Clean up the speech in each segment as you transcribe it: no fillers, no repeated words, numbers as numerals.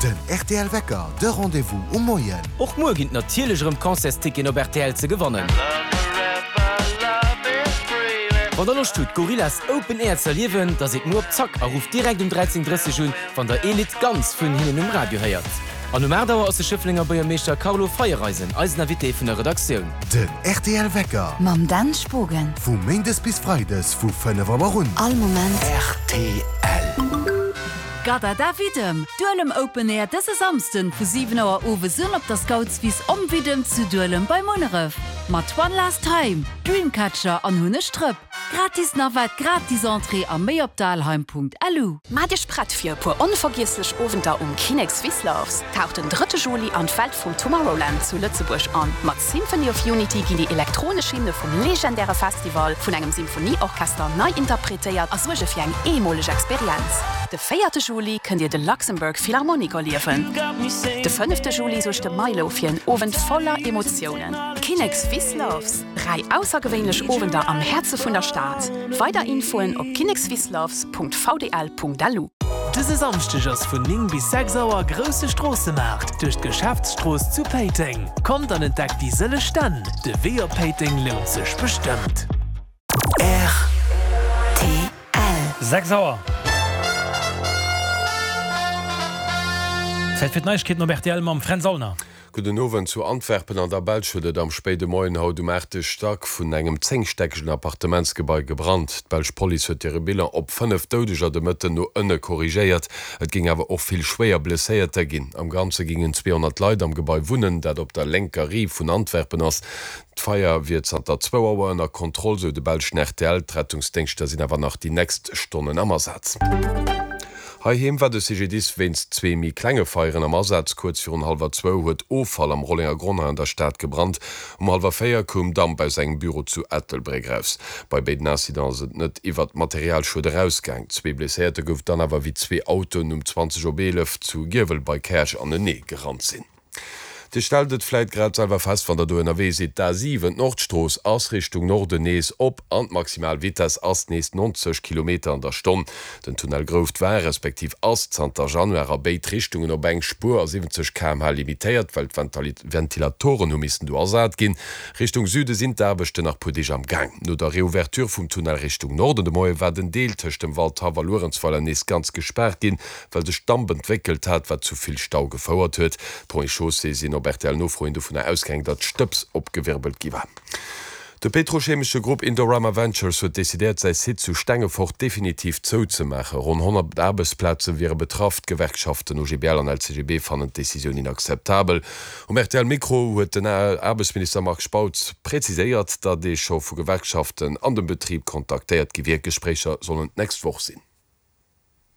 Den rtl Wecker, de Rendez-vous um Moien. Och muer ginn et natierlech erëm Concertsticketen op rtl ze gewannen. Wann der Loscht hutt Gorillaz Open Air ze erliewen, da sidd muer op Zack a rufft direkt um 13:30 un, wann der ee Lidd ganz vun hinnen um Radio héiert. An um 8 Auer ass de Schëfflenger Buergermeeschter Carlo Feiereisen eisen Invité vun der Redaktioun. Den rtl Wecker. Mam Dan Spogen. Vu Méindes bis Freides vu 5 Auer un. All Moment. Rtl. Gadada Widdem, Duelem Open Air dëse Samsden vu 7 Auer owes un op der Scoutswiss Om Widdem zu Duelem bei Munneref. Mat One Last Time, Dreamcatcher an Hunneg Drëpp. Gratis Navette, gratis Entrée a méi op dalheim.lu. Maacht Iech prett fir e puer onvergiesslech Owenter um Kinnek Swiss Loves. Taucht den drëtte Juli an d'Welt vum Tomorrowland zu Lëtzebuerg an. Mat Symphony of Unity ginn déi elektronesch Hymne vum legendäre Festival vun engem Symphonieorchester nei interpretéiert a suerge fir eng eemoleg Experienz. De véierte Juli kënnt Dir de Luxembourg Philharmonic erliewen. De fënnefte Juli suergt de Milow fir en Owend voller Emotiounen. Kinnek Swiss Loves, 3 aussergewéinlech Owender am Häerze vun der Stad. Weider Infoen op kinnekswissloves.vdl.lu. Dëse Samschdeg ass vun 9 bis 6 Auer grousse Stroossemaart duerch d'Geschäftsstrooss zu Péiteng. Kommt an entdeckt déi sëlleg Stänn. De Wee op Péiteng lount sech bestëmmt. Rtl. 6 Auer. Zäit fir d'Neiegkeeten op rtl mam Fränz Aulner. Gudden Owend. Zu Antwerpen an der Belsch huet et am spéide Moien haut um aachte Stack vun engem zéngstäckegen Appartementsgebai gebrannt. D'belsch Police huet hire Bilan op 5 Doudeger de Mëtten no ënne korrigéiert. Et géing awer och vill schwéier Blesséierter ginn. Am Ganze géingen 200 Leit am Gebai wunnen, dat op der lénker Rive vun Antwerpen ass. D'Feier wier zanter zwou Auer ënner Kontroll, sou de belschen rtl. D'Rettungsdéngschter sinn awer nach déi nächst Stonnen am Asaz. Heiheem war de CGDIS wéinst zwee méi klenge Feieren am Asaz. Kuerz virun hallwer zwou huet Offall am Rollengergronn hei an der Stad gebrannt. Um hallwer 4 koum Damp aus engem Büro zu Ettelbréck raus. Bei béiden Incidenten ass et net iwwert Materialschued erausgaang. Zwee Blesséierter gouf dann awer, wéi zwee Autoen um 20 op 11 zu Giewel bei Käerch anenee gerannt sinn. Dir stellt et vläit grad selwer fest, wann der do ënnerwee sidd, D'A7, d'Nordstrooss, ass Richtung Norden nees op an d'maximal Vitess ass nees 90 Kilometer an der Stonn. Den Tunnel Grouft war, respektiv ass zanter Januar a béid Richtungen op eng Spuer a 70 km/h limitéiert, well d'Ventilatoren hu missen do ersat ginn. Richtung Süde sinn d'Aarbechten nach puer Deeg am Gaang. No der Reouverture vum Tunnel Richtung Norden de Moie war den Deel tëscht dem Waldhaff a Luerenzweiler nees ganz gespaart ginn, well sech Damp entwéckelt hat, wat zu vill Stau gefouert huet. D'Ponts et Chaussées sinn op RTL-Nofro hin dovunner ausgaang, datt Stëbs opgewirbelt gi war. De petrochemesche Grupp Indorama Ventures huet decidéiert, säi Site zu Stengefort definitiv zouzemaachen. Ronn 100 Aarbechtsplaze wiere betraff. D'Gewerkschaften OGBL an LCGB fannen d'Decisioun inakzeptabel. Um RTL-Mikro huet den Aarbechtsminister Marc Spautz preziséiert, datt ee scho vu Gewerkschaften an dem Betrib kontaktéiert gi wier. D'Gespréicher sollen d'nächst Woch sinn.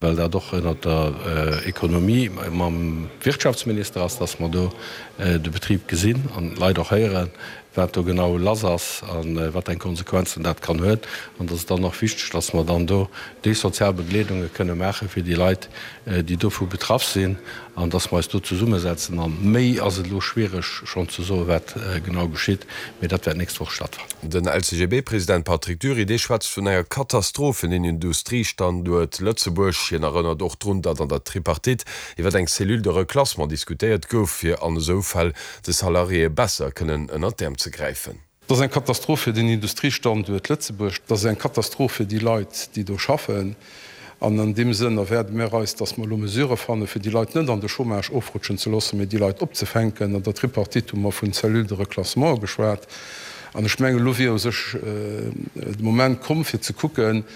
well dat och ënnert der Ekonomie mam Wirtschaftsminister ass, dass mer do de Betrib gesinn an d'Leit och héieren, wat do genau lass ass a wat eng Konsequenzen dat kann huet. An dass et dann och wichteg, dass mer dann do déi sozial Begleedunge kënne maache fir déi Leit, déi dovu betraff sinn, an dass mer eis do zesummesetzen. A méi ass et elo schwiereg schonn ze soen, wat genau geschitt, mee dat wäert d'nächst Woch stattfannen. Den LCGB-President Patrick Dury, dee schwätzt vun enger Katastroph fir den Industriestanduert Lëtzebuerg. Hien erënnert och drun, datt an der Tripartite iwwer eng Cellule de reclassement diskutéiert gouf, fir an esou Fäll de Salariéë besser kënnen ënnert d'Äerm ze gräifen. Et ass eng Katastroph fir den Industriestanduert Lëtzebuerg. Et ass eng Katastroph fir déi Leit, déi do schaffen. An an deem Sënn erwaarde mir eis, dass mer elo Mesurë fannen, fir déi Leit net an de Chômage ofrutschen ze loossen, mee déi Leit opzefänken. An der Tripartite hu mer vun Cellules de reclassement geschwat. An ech mengen, elo wier u sech de Moment komm, fir ze kucken,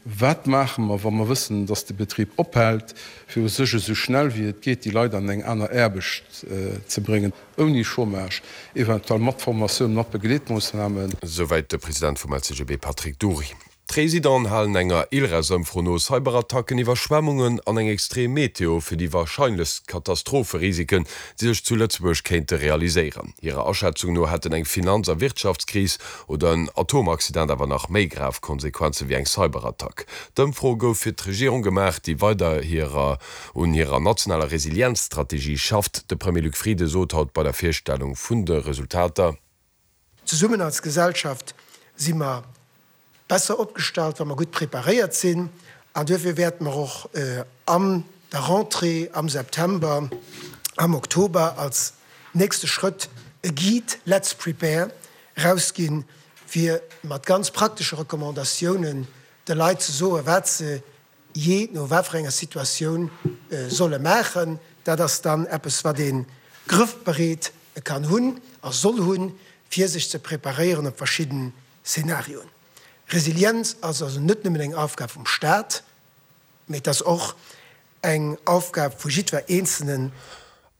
Wat maache mer, wa mer wëssen, dass de Betrib ophält, fir u sech esou schnell wéi et geet déi Leit an eng aner Aarbecht ze bréngen, ouni Chômage, eventuell mat Formatioun, mat Begleetmoossnamen. Souwäit de President vum LCGB Patrick Dury. D'Residenten halen enger ILRES-Ëmfro no Cyberattacken, Iwwerschwemmungen an eng extrem Meteo fir déi warscheinlechst Katastropherisiken, déi sech zu Lëtzebuerg kéinte realiséieren. Hirer Aschätzung no hätten eng Finanz a Wirtschaftskris oder en Atomaccident awer nach méi grav Konsequenze wéi eng Cyberattack. D'Ëmfro gouf fir d'Regierung gemaach, déi weider hirer un hirer nationaler Resilienzstrategie schafft. De Premier Luc Frieden sot haut bei der Virstellung vun de Resultater, Zesummen als Gesellschaft si mer besser opgestallt, wa mer gutt preparéiert sinn. An duerfir wäerte mer och an. der Rentrée am September, am Oktober als nächste Schrëtt e Guide Let's Prepare erausginn, fir mat ganz praktesche Recommandatiounen de Leit ze soen, wat se jee no wat fir enger Situatioun solle maachen. Dat ass dann eppes, wat ee grëffbereet kann hunn a soll hunn, fir sech ze preparéieren op verschidden Szenarioen. Resilienz ass also net nëmmen eng Aufgab vum Staat, mee et ass och eng Aufgab vu jiddwer Eenzelnen.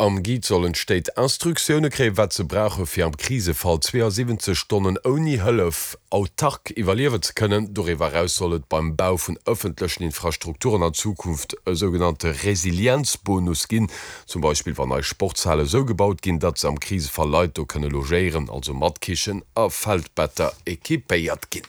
Am Guide sollen d'Stéit Instruktioune kréien, wat se brauche fir am Krisefall 72 Stonnen ouni Hëllef autark iwwerliewen ze kënnen. Doriwwer eraus soll et beim Bau vun ëffentlechen Infrastrukturen an Zukunft e sougenannte Resilienzbonus ginn, zum Beispill wann nei Sportshale sou gebaut ginn, datt se am Krisefall Leit do kënne logéieren, also mat Kichen a Feldbetter equipéiert ginn.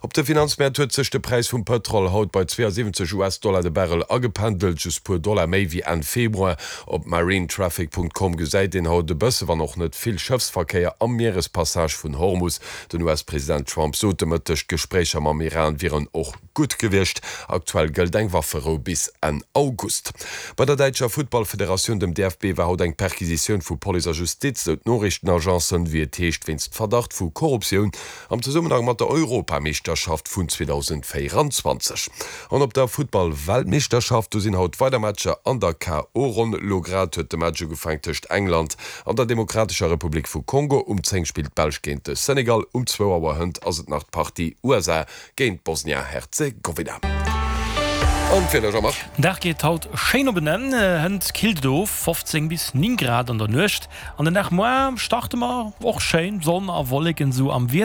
Op de Finanzmäert huet sech de Präis vum Pëtrol haut bei 72 US-Dollar de Barrel agependelt, just puer Dollar méi wéi Enn Februar. Op marinetraffic.com gesäit een haut e bësse, wann och net vill, Schëffsverkéier am Mierespassage vun Hormus. Den US-President Trump sot de Mëtteg, d'Gespréicher mam Iran wieren och gutt gewiescht. Aktuell gëllt eng Wafferou bis Enn August. Bei der däitscher Futtballfederatioun, dem DFB, war haut eng Perquisitioun vu Police a Justiz, sou d'Noriichtenagencen. Wéi et heescht, wéinst Verdacht vu Korruptioun. Am Zesummenhang mat der Europameeschterschaft vun 2024. An op der Futtball-Weltmeeschterschaft, do sinn haut weider Matcher an der KO-Ronn. Lo grad huet de Match ugefaang tëscht England an der Demokratescher Republik vu Kongo. Um 10 spillt d'Belsch géint de Senegal. Um zwou Auer hënt ass et nach d'Partie USA géint Bosnia-Herzegowina. An d'Wieder, Jean-Marc? Den Dag geet haut schéin op en Enn, hënt killt et of, 15 bis 9 Grad an der Nuecht. An den Dag muar starte mer och schéin, Sonn a Wolleken sou am Wiessel.